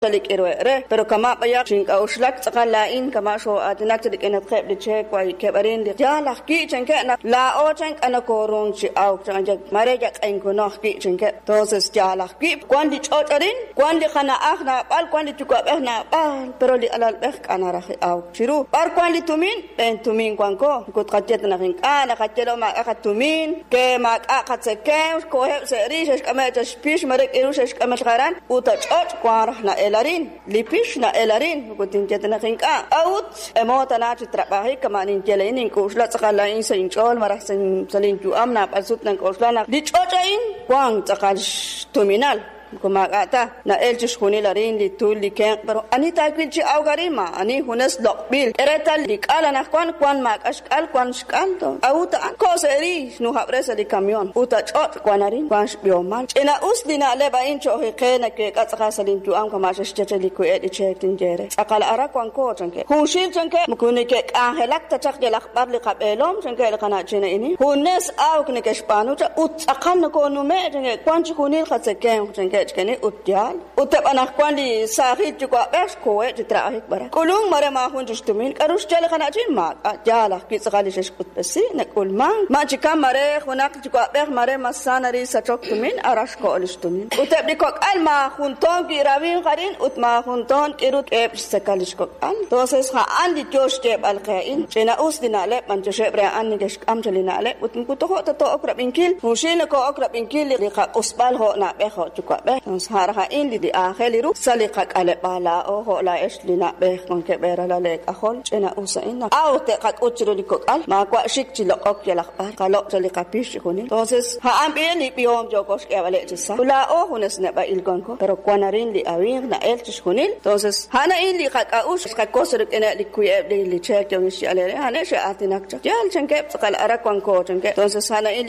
Li k'iruheb' re, pero kama' b'ayaq xink'a'uxlak tz'aqal laa'in kama' xoo'aatinak chi rik'inatqeb' li cheek waykeb' arin li yaal ajwi' chankeb' naq laa'o chan k'a nokoruhank chi awk chan mare yaq'enkuno ajwi' chankeb'. Entonces yaal ajwi' wank li ch'och' arin, wank li qana'aj naab'al, wank li yuwa'b'ej naab'al, pero li alalb'ej k'a naraj awk chiru. B'ar wank li tumin? B'een tumin wanko. Moko tqaye ta naq ink'a', naqaye lo maak'a' qatumin, ke maak'a' qatzekemq, xkoheb' sa' rix, xe'xk'ameb' chaq xpix, mare k'iru xe'xk'ameb' chaq aran, ut a ch'och' wank raj na'el arin. Li pix na'el arin, moko tinye ta naq ink'a'. A'ut emo tana chi trab'ajik kama' ninye laa'in, nink'oxla tz'aqal laa'in sa' inch'ool malaj sa' linyu'am naab'al sut nank'oxla naq li ch'och' a'in wank tz'aqal xtuminal. Moko maak'a' ta na'el chixjunil arin li tul li kenq', pero ani taawil chi awk arin ma ani junes loq'b'il. K'e reetal li k'al anaqwan wank maak'a' xk'al, wank xk'al. A'ut a'an ko sa' ri xnujab're sa' li kamión. Ut a ch'och' wank arin, wank xb'ihomal. Ch'ina'us li na'leb' a'in cho'q qe naweek'a tz'aqal sa' linyu'am kama' xe'xye che li wi'e' li cheek tinye re. Tz'aqal ara wanko chankeb'. Junxil chankeb' moko neke'k'anjelak ta chaq yalaq b'ar li qab'eelom chankeb' li qana'chin a'in. Junes awk neke'xb'aanu chaq ut tz'aqal nokonume' chankeb' wank chixjunil qatzekemq chankeb' chikani ut yaal. Ut eb' anaqwan li saajil yuwa'b'ej xkoheb' chi trab'ajik b'araq. K'ulunk mare maajun chi xtumin. K'aru xye li qana'chin? Maak'a' yaal ajwi' tz'aqal li xe'xk'utb'esi nak'ulmank. Ma chikan mare junaq yuwa'b'ej mare mas sa nari sachok tumin ara xko'o li xtumin. Ut eb' li kok'al maajun toon ki'rawinq arin ut maajun toon k'iru eb' xtzeka li xkok'al. Entonces a'an li yo xyeeb'al qe a'in. Ch'ina'us li na'leb' b'anyoxeb' re a'an neke'xk'am cha li na'leb' ut moko tojo' ta to'ok rab'inkil. Junxil noko'ok rab'inkil li qaq'usb'al jo' na'b'ej jo' yuwa'b'ej. Entonces a' raj a'in li aajel ru sa' li qak'aleb'aal laa'o jo' laa'ex li na'b'ej wankeb' eeralal eek'ajol. Ch'ina'us a'in naq aw te'qak'ut chiru li kok'al maawa' xik chi loq'ok yalaq b'ar qaloq' cha li qapix chixjunil. Entonces a'an b'i li b'ihom yooko xk'eeb'aleb' chi sa'. Laa'o junes neb'a'il wanko, pero wan arin li awinq na'el chixjunil. Entonces a'an a'in li qak'a'uxl xqakos rik'ineb' li wi'eb' li cheek yo'in xye'al a'an xe'aatinak chaq. Yaal chankeb' tz'aqal ara wanko chankeb'. Entonces a'an a'in.